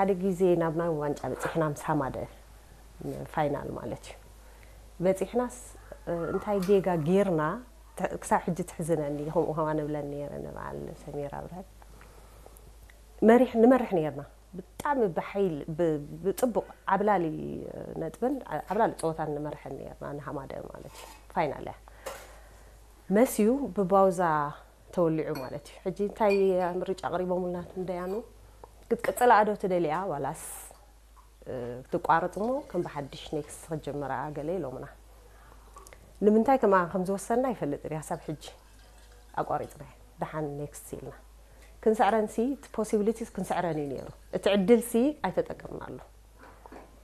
ሓደ ግዜ ናብ ናይ ዋንጫ በፂሕና ምስ ሃማደ፣ ፋይናል ማለት እዩ። በፂሕናስ እንታይ ጌጋ ጌርና? ክሳብ ሕጂ ትሕዝነኒ። ከምኡ ከማን እብለን ነይረ ንበዓል ሰሚራ ኣብርሀት። መሪሕ ንመርሕ ነይርና። ብጣዕሚ ብሓይል ብፅቡቕ ዓብላሊ ነጥብን ዓብላሊ ፀወታን ንመርሐን ነይርና፣ ንሃማደ ማለት እዩ። ፋይናል እያ መስዩ ብባውዛ ተወሊዑ ማለት እዩ። ሕጂ እንታይ ምርጫ ኣቕሪቦምልና እቶም ደያኑ? ክትቅፅላ ኣዶ ትደልያ ዋላስ ትቋረፅ እሞ ከም ብሓድሽ ኔክስት ክትጀምራ ገለ ኢሎምና። ንምንታይ ከማን ከም ዝወሰንና ይፈልጥ እያ። ሳብ ሕጂ ኣቋሪፅና፣ ደሓን ኔክስት ኢልና ክንስዕረን ሲ፣ እቲ ፖሲቢሊቲስ ክንስዕረን እዩ ነይሩ። እቲ ዕድል ሲ ኣይተጠቀምናሉ።